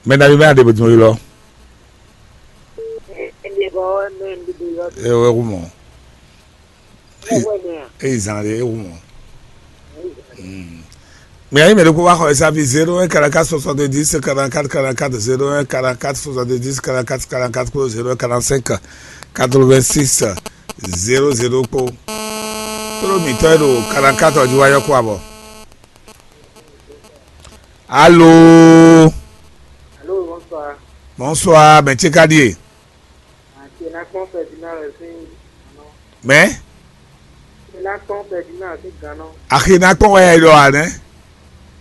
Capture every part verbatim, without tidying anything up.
Mɛ ɖavi mɛ aɖe bɔ dun yi lɔ. Ene bɔ mɛ ɖiɖi yɔ. E wɛ hu mɔ. Ewɛ mɛ a. E zan ɖe e hu mɔ. Mais ayi mɛ ɖokpó wá xɔ esa fi zéro un quarante-quatre soixante-dix quarante-quatre quarante-quatre, zéro un quarante-quatre soixante-dix quarante-quatre quarante-quatre kpó zéro un quarante-cinq quatre-vingt-six zéro zéro kpó. Tló mǐtɔn e ɖo quarante-quatre ɔ́ jí wá yɔ́ kó abɔ. Alo. Alo, bonsoir. Bonsoir, mɛ ce ka ɖíe. Ati ná kpɔn Ferdinand le sín gannɔ. Mɛ. Ati ná kpɔn Ferdinand sín gannɔ. Axi ná kpɔn wɛ yɛ ɖɔ a nɛ.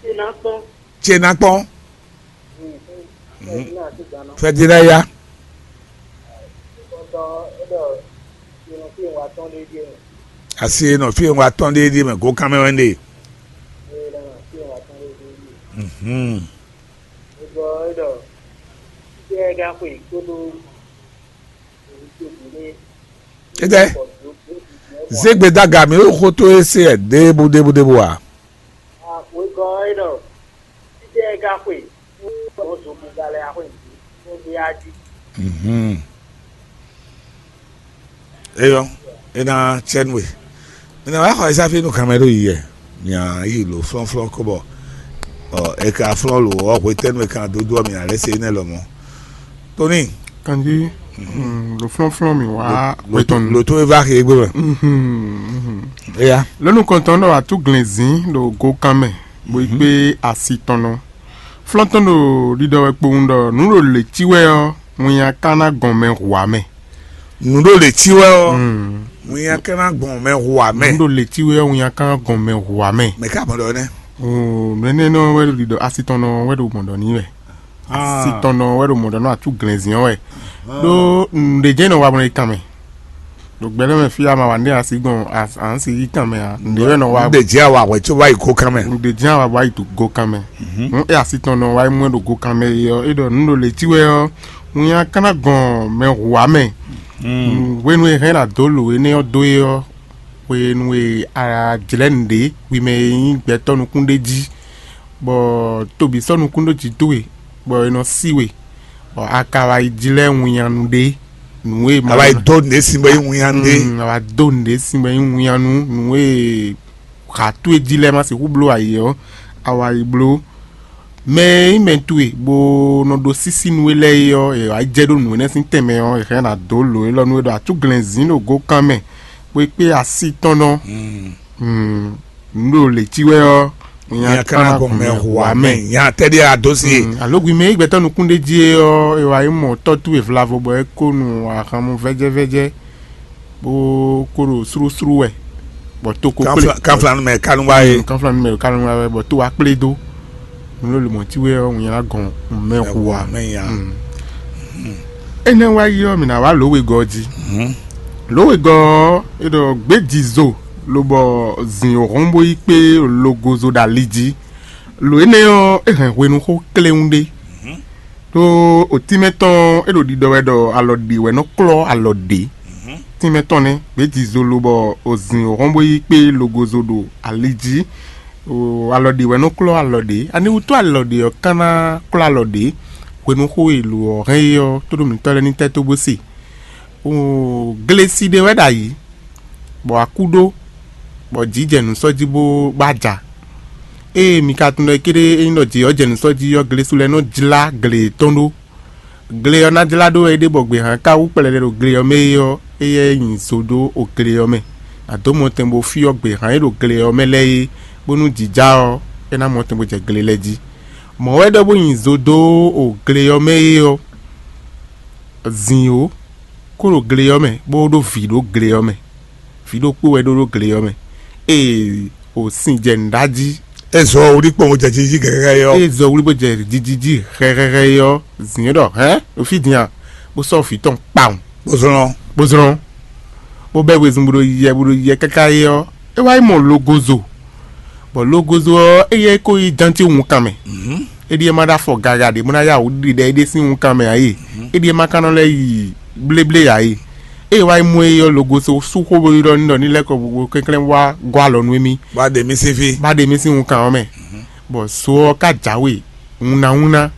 Ati ná kpɔn. Ce ná kpɔn. Ferdinand sín gannɔ. Ferdinand ya. Kɔntɔn é ɖɔ ìrun fí wa tɔn ɖé díẹ̀. Asi nɔ fí wa tɔn ɖé ɖíe mɛ gó kan mɛ wɛ ɖe. Mhm. Étɛ́? Zégbe daga mi ɖo xótó e se ɛ ɖěbǔ ɖěbǔ ɖěbǔ a? Wegɔ́ é ɖɔ títí ɛ ka xwe, bɔ zogbígbá lɛ́ɛ axwe nǔ, bó gbé á jí. Mhm. Eyɔ, é ná tsɛ nú we. Mi ná wá xɔ ɛ sáfí nú kanmɛ ɖó yi yɛ. Mia yi lǒ flɔ́nflɔ́n kó bɔ ɔ, è ka flɔ́n lǒ ɔ́, hwetɛ́nu è ka dó dó ɔ́, mia lɛ́ se énɛ́ lɔmɔ̌. Tóní. Kanjí, mm, ɖo flɔ́nflɔ́n mì wá hwetɔn. Lǒ tó é va xi égbé mɛ. Mhm, mhm. Eya. Lónú kɔntɔn ɖɔ atú glɛ̌nzín ɖo gokan mɛ, bó yi kpé asi tɔn nɔ. Flɔ́ntɔn ɖo ɖiɖɔ wɛ kpowun ɖɔ nǔ ɖo lě cí wɛ ɔ́, winnya ka ná gɔn mɛ hu ǎ mɛ. Nǔ ɖo lě cí wɛ ɔ́, Mm. Winnya ka ná gɔn mɛ hu ǎ mɛ. Nǔ ɖo lě cí wɛ ɔ́, winnya ka ná gɔn mɛ hu ǎ mɛ. Mɛ ká mɔ ɖɔ nɛ́. Oo, mɛ énɛ́ nɔ wɛ ɖo ɖiɖɔ asi tɔn nɔ wɛ ɖo mɔ ɖɔ n'i wɛ. Ah. Asi tɔn nɔ wɛ ɖo mɔ ɖɔ nɔ atú glɛ̌nzín ɔ́ wɛ. Ɖó nǔɖé jɛ́n nɔ wa mɔ ɖe kan mɛ. Ɖo gbɛɖɔ́ mɛ fí ama wa nɖé asi gbɔn, a- a nǎ si yí kan mɛ a nǔɖé wɛ nɔ wa. Nǔɖé jɛ awa hwɛ có wá yi gokan mɛ. Nǔɖé jɛ́n awa wá yi gokan mɛ. Nú é asi tɔn nɔ wá yi mɔ ɛ ɖo gokan mɛ é ɔ́, é ɖɔ nǔ ɖo lě cí wɛ ɔ́, winnya ka ná gɔn mɛ hu ǎ mɛ. Hwenu e hɛn ɖo adǒ lǒ énɛ́ ɔ́ dó é ɔ́, hwenu e a jlɛ̌ nǔɖé hwi mɛ e nyí gbɛtɔ́ nukún ɖé jí, bɔ tobǐ sɔ́ nukún ɖó jǐ towe, bɔ è nɔ sí we, bɔ a ka wá yi jlɛ́ winnyanu ɖé, nǔ e ma A wá yi dó nǔɖé sin bɔ é nyí winnyanu ɖé. Mm, a wá dó nǔɖé sin bɔ é nyí winnyanu, nǔ e ha towe jí lɛ́ɛ ma sixú bló ayǐ ɔ́, a wá yi bló. Mɛ e nyí mɛ towe bó nɔ ɖó sísí nú we lɛ́ɛ é ɔ́, è wǎ jɛ ɖó nǔ énɛ́ sín tɛnmɛ ɔ́, è hɛn ná dó lǒ élɔ́ nú we ɖɔ atúglɛ́nzín ɖo gokan mɛ, bó yi kpé asi tɔn nɔ. Mm. Mm, nǔ ɖo lě cí wɛ ɔ́, Nya ka ná gɔn mɛ hu amɛ. Nya tɛ́ ɖíe a dó sí e? Mm, alo gbi mɛ e gbɛtɔ́ nukún ɖé jí é ɔ́, è wǎ yi mɔ tɔ́ towe vlavo bɔ é kó nu ahan mɔ vɛ́jɛ́vɛ́jɛ́, bó kó ɖo slúslú wɛ, bɔ to ko kplé. Kanflanu mɛ kanu wá é. Mm, kanflanu mɛ kanu wá wɛ, bɔ to wá kplé dó. Nǔ ló lǒ mɔ̌ cí wɛ ɔ́, un nylá gɔn mɛ hu ǎ. Mɛ nya. Mm. Énɛ́ wá yi ɔ́, mǐ ná wá lǒ wegɔ́ jí. Lǒ wegɔ́ ɔ́, é ɖɔ gbějizo lobɔ zǐn hɔn bó yi kpé logozo ɖo ali jí. Lǒ énɛ́ ɔ́, é hɛn hwenuxó kléwún ɖé. Ɖó otínmɛ tɔn é ɖo ɖiɖɔ wɛ ɖɔ alɔ ɖě wɛ nɔ klɔ́ alɔ ɖě. Tínmɛ tɔn nɛ́, gbějizo lobɔ ozǐn hɔn bó yi kpé logozo ɖo ali jí. O, alɔ ɖě wɛ nɔ klɔ́ alɔ ɖě. Ani wútu alɔ ɖě ɔ́ ka ná klɔ́ alɔ ɖě? Hwenuxó e lǒ ɔ́ hɛn é ɔ́, tóɖó mǐtɔn lɛ́ɛ ní tɛ́ tó bó se. O, glesi ɖé wɛ ɖo ayǐ, bɔ akú ɖó, bɔ jǐ jɛ nǔ sɔ́ jí bó bá ja. Ée mi ka tunwun ɖɔ kéɖé é nyí ɖɔ jǐ ɔ́ jɛ nǔ sɔ́ jí ɔ́, glesi lɛ́ɛ nɔ jlá gle yětɔn ɖó. Gle ɔ́ ná jlá ɖó wɛ é ɖe bɔ gběhan ka wú kplɛɖɛ ɖo gle ɔ́ mɛ é ɔ́, éyɛ́ nyi zo ɖó o gle ɔ́ mɛ. Nǎ dó mɔtɛn bó fyɔ́ gběhan e ɖo gle ɔ́ mɛ lɛ́ɛ é, bónú jǐ ja ɔ́, é ná mɔtɛn bó jɛ gle lɛ́ɛ jí. Mɔ̌ wɛ ɖɔ bó nyi zo dó o gle ɔ́ mɛ é ɔ́, zǐn ó, kó ɖo gle ɔ́ mɛ, bó ɖó vǐ ɖó gle ɔ́ mɛ. Vǐ ɖokpó wɛ ɖó ɖó gle ɔ́ mɛ. Ée o sin jɛ nǔɖá jí. É zɔ wlí kpɔn jɛ jiji gɛgɛgɛ yɔ. Ée zɔ wlí bó jɛ jiji jí hɛhɛhɛ yɔ, zǐn é ɖɔ hɛn ɖo fí din a, bó sɔ́ vǐ tɔn kpawun. Bó zlɔn. Bó zlɔn. Bó bɛ́ wezun bó ɖo yiyɛ bó ɖo yiyɛ káká é ɔ́, é wá yi mɔ logozo, bɔ logozo ɔ́, éyɛ́ é ko yi jántíwunkan mɛ. É ɖíe ma ɖó afɔ gaga ɖě bó ná yá wǔ ɖiɖi ɖɛ éɖée sín wunkan mɛ ǎ e. É ɖíe ma ka nɔ lɛ́ yi bléblé ǎ e. Ée wá yi mɔ é ɔ́, logozo sú xó bó ɖɔ ní ɖɔ ní lɛ́ kɔ bó kɛnklɛ́n wá gɔ́ alɔ nú émí. Bá ɖe mí sín fí. Bá ɖe mí sín wunkan ɔ́ mɛ. Bɔ zo ɔ́ ka jǎwe wunnáwúnná.